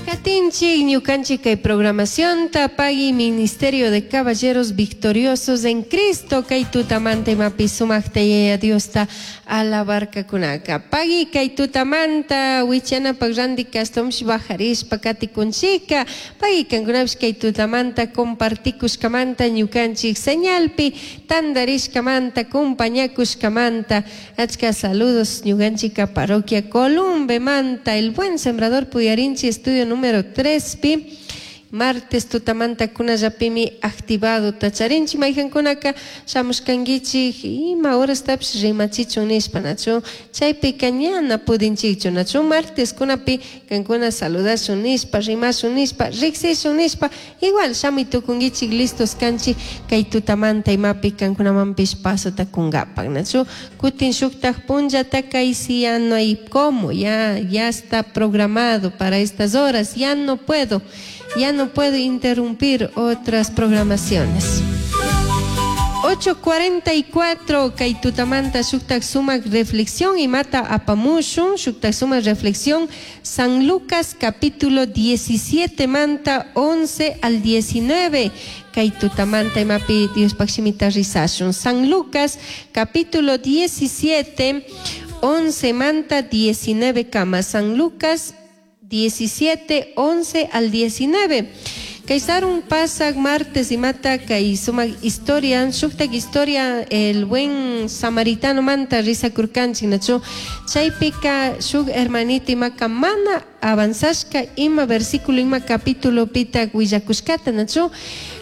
Katinchik ñukanchik kay programacionta pagui Ministerio de Caballeros Victoriosos en Cristo kay tutamanta imapi sumaqta Yaya Diosta alabarkakunaka. Pagui kay tutamanta wichanapaq ranti kashtawanpish bajarishpa katikunchika. Pagui kankunapish kay tutamanta compartikushkamanta ñukanchik señalpi tandarishkamanta compañakushkamanta achka saludos ñukanchika parroquia Columbemanta El Buen Sembrador Puyarinchi estudio número 3 pi martes tutamanta kunallapimi activado tacharinchik mayjankunaka shamushkankichik ima horastapish rimachichun nishpa nachu chaypika ñana pudinchikchu nachu martes kunapi kankuna saludashun nishpa rimashun nishpa riksishun nishpa igual shamuy tukunkichik listos kanchik kay tutamanta imapi kankunamanpish pasota kunkapak nachu kutin shuktak punllata kay si ya no hay cómo, ya, ya está programado para estas horas, ya no puedo, ya no puedo interrumpir otras programaciones. 8:44 kay tutamanta shuktak sumak reflexión imata apamushun shuktak sumak reflexión San Lucas capítulo 17 manta 11 al 19 kay tutamanta imapi Diospaj shimita rizashun San Lucas capítulo 17 11 manta 19 kama San Lucas 17 11 al 19 Kay sarun pasak martes imata kay sumak historia shuktak historia el buen samaritano manta rizakurkanchik nachu chaypika shuk hermanito imaka mana avanzashka ima versículo ima capítulo pitak willakushkata nachu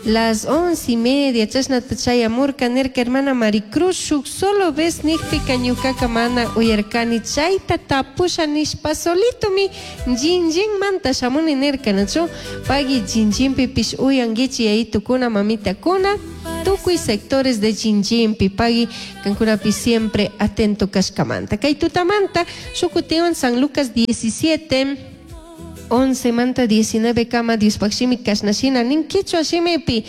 las 11:30 chashnata chayamurka nirka hermana Maricruz shuk solo vez nikpika ñukaka mana uyarkani chayta tapusha nishpa solitomi Jinjinmanta shamuni nirka nachu pagui Jinjinpipish uyankichik yayitukuna mamitakuna tukuy sectores de Jinjinpi pagui kankunapi siempre atento kashkamanta kay tutamanta shuk kutiwan San Lucas 17 11 manta 19 kama Diospaj shimi kashna shina nin kichwa shimipi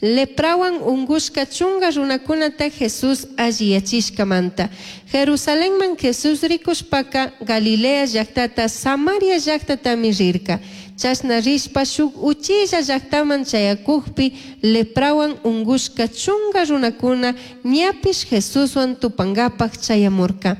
leprawan ungushka chunga runakunata Jesús alliyachishkamanta. Jerusalenman Jesús rikushpaka Galilea llaktata Samaria llaktatami rirka. Chashna rishpa shuk uchilla llaktaman chayakukpi leprawan ungushka chunga runakuna ñapish Jesuswan tupankapak chayamurka.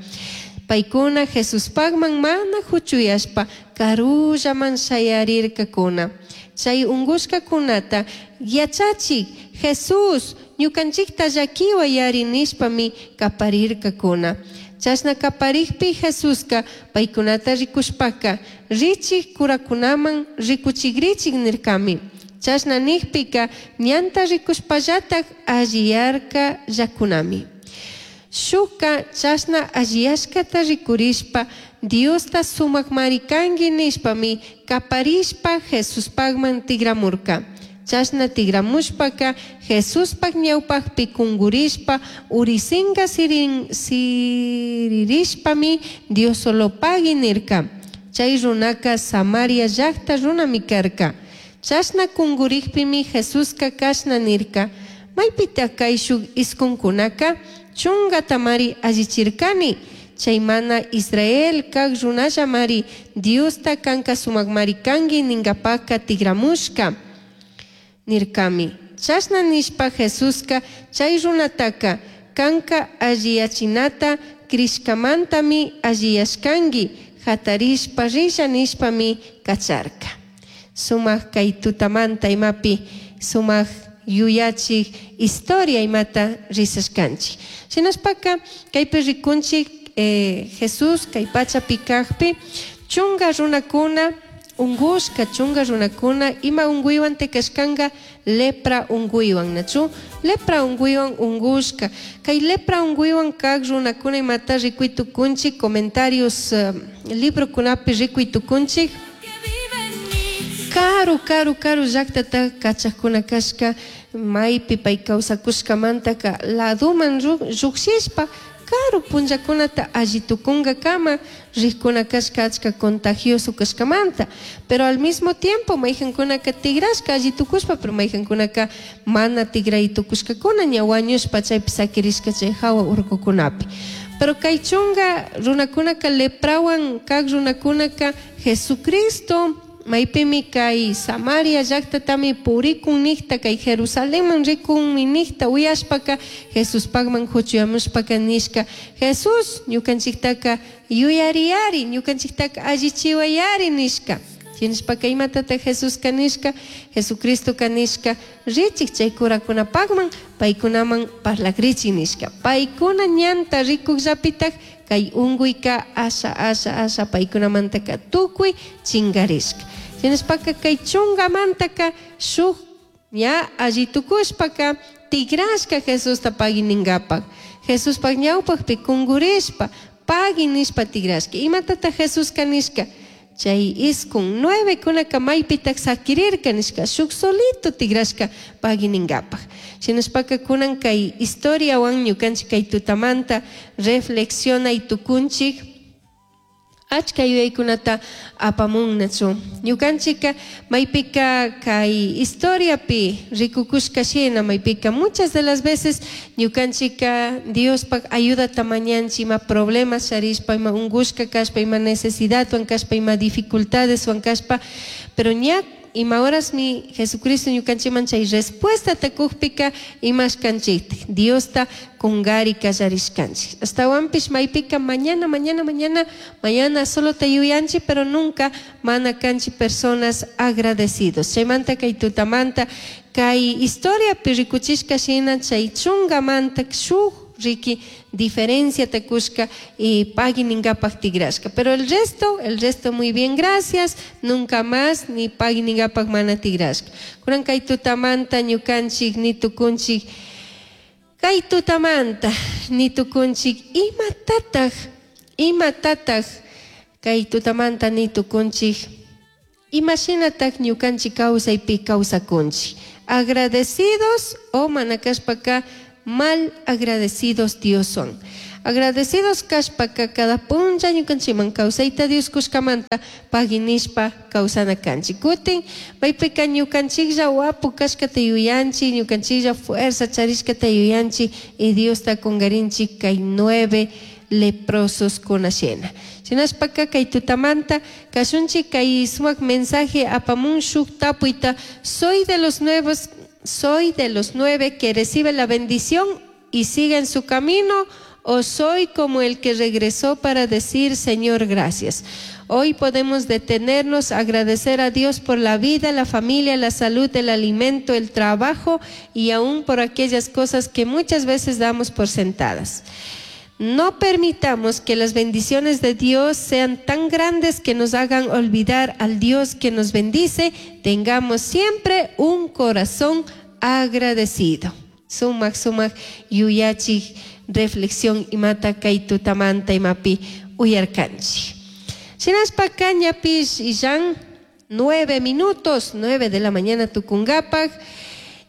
Paykuna Jesuspakman mana huchuyashpa karullaman shayarirkakuna. Chay ungushkakunata yachachik Jesús, ñukanchikta llakiway yari nishpami kaparirkakuna. Chashna kaparikpi Jesuska paykunata rikushpaka, richik kurakunaman rikuchikrichik nirkami. Chashna nikpika ñanta rikushpallatak alliyarka llakunami. Shukka chashna alliyashkata rikurishpa Diosta sumakmari kanki nishpami kaparishpa Jesuspakman tigramurka. Chashna tigramushpaka Jesuspak ñawpakpi kungurishpa urisinka siririshpami Diosolopagui nirka. Chay runaka Samaria llakta runami karka. Chashna kungurikpimi Jesuska kashna nirka, Maypitak kayshuk iskunkunaka chungatamari allichirkani, chay mana Israel kak runallamari Diosta kanka sumakmari kanki ninkapakka tigramushka, nirkami. Chashna nishpa Jesuska chay runataka, Kanka alliyachinata crishkamantami alliyashkanki, jatarishpa rilla nishpami kacharka. Sumak kay tutamanta imapi sumak yuyachik historia imata rizashkanchik. Shinashpaka kaypi rikunchik Jesús kay pachapi kakpi chunga runakuna ungushka, chunga runakuna ima unguywan tekashkanka lepra unguywan, nachu? Lepra unguywan ungushka. Kay lepra unguywan kak runakuna imata rikuy tukunchik, comentarios librokunapi rikuy tukunchik. Karu, karu, karu llaktata kachakuna kashka, maypi pay kawsakushkamantaka ladoman llukshishpa karu punllakunata alli tukunkakama rikkuna kashka achka contagioso kashkamanta. Pero al mismo tiempo mayjankunaka tigrashka alli tukushpa, pero mayjankunaka mana tigray tukushkakuna ña wañushpa chaypi sakirishka chay hawa urkukunapi. Pero kay chunga runakunaka leprawan kak runakunaka Jesucristo Maypimi kay Samaria llaqtatami purikun niqta, kay Jerusalenman rikunmi niqta uyashpaka Jesuspaqman huchuyamushpaka nishka, Jesús, ñukanchiktaka yuyariyari, ñukanchiktaka allichiwayari nishka. Shinashpaka imatataq Jesuska nishka? Jesucristoka nishka, richik chay curakunapaqman, paykunaman parlakrichik nishka. Paykuna ñanta rikukllapitaq kay unkuyka asha asha asha paykunamantaka tukuy chinkarishka. Shinashpaka kay chunkamantaka shuk ña alli tukushpaka tigrashka Jesusta pagui ninkapak. Jesuspak ñawpakpi kunkurishpa pagui nishpa tigrashka. Imatataq Jesuska nishka? Chay iskun 9 kunaka maypitaq sakirirka nishka, shuk solito tigrashka pagui ninkapak. Shinashpaka kunan kay historiawan ñukanchik kay tutamanta reflexionay tukunchik. Achka yuyaykunata apamunnachu. Ñukanchika maypika kay historiapi rikukushka shina, maypika muchas de las veces ñukanchika Diospak ayudata mañanchik ima problemas charishpa, ima unkushka kashpa, ima necesidadwan kashpa, ima dificultadeswan kashpa, pero ña ima horasmi Jesucristo ñukanchikman chay respuestata kukpika imashkanchiktik Diosta kungari kallarishkanchik. Ashtawanpish maypika mañana, mañana, mañana, mañana solo te yuyanchik, pero nunca mana kanchik personas agradecidos. Chaymanta kay tutamanta kay historiapi rikuchishka shina chay chungamanta shuk riki diferencia kushka y pagui ningapak tigrashka. Pero el resto muy bien, gracias, nunca más ni pagui ningapak mana tigrashka. Kunan kay tutamanta ñukanchik ni tukunchik, kay tutamanta ni tukunchik, imatataq kay tutamanta ni tukunchik, imashinatak ñukanchik kawsaypi kawsakunchik, agradecidos o mana kashpaka mal agradecidos Dioswan. Agradecidos kashpaka cada punlla ñukanchikman kawsayta Dios kushkamanta pagui nishpa kawsana kanchik. Kutin maypika ñukanchiklla wapu kashkata yuyanchik, ñukanchiklla fuerza charishkata yuyanchik y Diosta kungarinchik kay 9 leprosos kunashina. Shinashpaka kay tutamanta kashunchik kay sumak mensaje apamun shuk tapuyta: soy de los nuevos, soy de los 9 que recibe la bendición y sigue en su camino, o soy como el que regresó para decir: Señor, gracias. Hoy podemos detenernos, agradecer a Dios por la vida, la familia, la salud, el alimento, el trabajo y aún por aquellas cosas que muchas veces damos por sentadas. No permitamos que las bendiciones de Dios sean tan grandes que nos hagan olvidar al Dios que nos bendice. Tengamos siempre un corazón agradecido. Sumak sumak yuyachik reflexión imata kay tutamanta imapi uyarkanchik. Shinashpaka ñapish illan 9 minutos, 9 de la mañana tukungapak.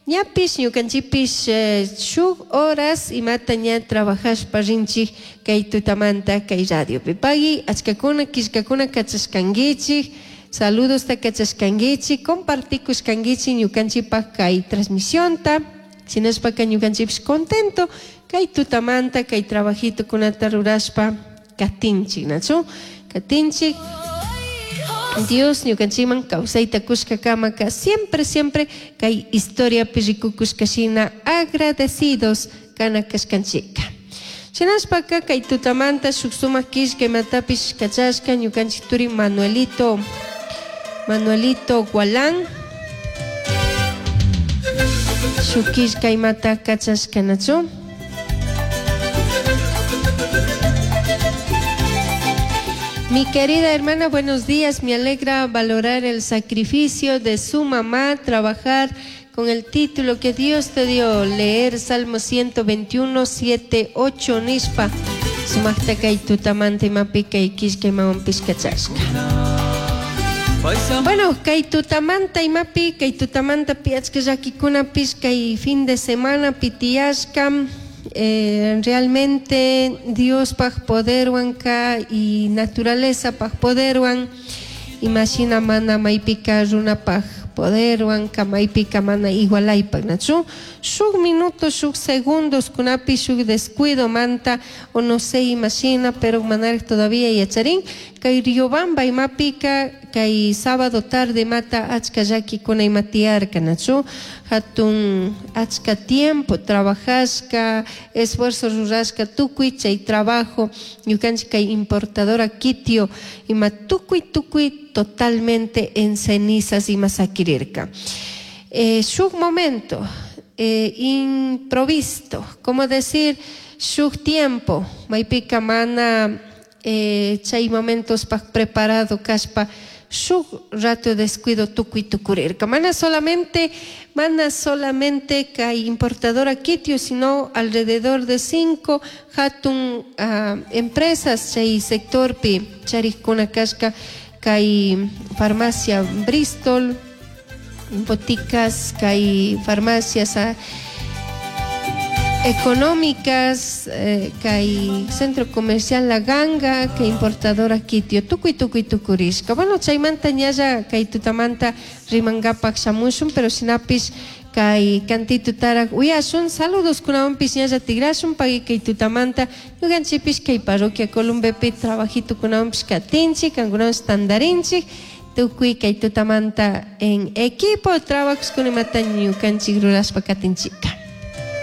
Ñapish ñukanchikpish shuk horas imata ña trabajashpa rinchik kay tutamanta kay radiopi. Pagui achkakuna killkakuna kachashkankichik, saludosta kachashkankichik, compartikushkankichik ñukanchikpak kay transmisionta. Shinashpaka ñukanchikpish contento kay tutamanta kay trabajitokunata rurashpa katinchik, nachu? Katinchik. Dios ñukanchikman kawsayta kushkakamaka siempre, siempre kay historiapi rikukushka shina agradecidos kana kashkanchika. Shinashpaka kay tutamanta shuk sumak killka imatapish kachashka ñukanchik turi Manuelito, Manuelito Gualán. Shuk killka imata kachashka, nachu? Mi querida hermana, buenos días. Me alegra valorar el sacrificio de su mamá, trabajar con el título que Dios te dio, leer Salmo 121, 7, 8, nishpa. Sumakta kay tutamanta imapi kay killka imawanpish kachashka. Bueno, kay tutamanta imapi, kay tutamanta achka llakikunapish kay fin de semana pitiyashka. Realmente Diospaj poderwanka y naturalezapaj poderwan imashina mana maypika runapaj poderwan kamaypika mana igualaypak, nachu? Shuk minuto, shuk segundos kunapi shuk descuido manta o no sé imashina, pero manaraj todavía yacharin kay Riobamba imapika kay sábado tarde mata achka llakikuna ima tiyarka, nachu? Hatun achka tiempo trabajashka, esfuerzo rurashka tukuy chay trabajo ñukanchik kay importadora Kitio ima tukuy tukuy totalmente en cenizas ima sakirirka. Shuk momento improvisto, como decir, shuk tiempo maypika mana chay momentospaj preparado kashpa shuk rato descuido tukuy tukurirka. Mana solamente kay importadora Kitio, sino alrededor de 5 hatun empresas chay sectorpi charikuna kashka kay farmacia Bristol, boticas, kay farmacias económicas, kay centro comercial La Ganga, kay importadora Kitio, tukuy tukuy tukurishka. Bueno, chaymanta ñalla kay tutamanta rimankapak shamushun, pero shinapish kay kantitutaraq uyashun, saludos kunawanpish ñalla tigrashun, pagui kay tutamanta ñukanchikpish kay parroquia Columbepi trabajito kunawanpish katinchik, kankunawanpish tantarinchik, tukuy kay tutamanta en equipo trabajos kunimata ñukanchik rurashpa katinchika.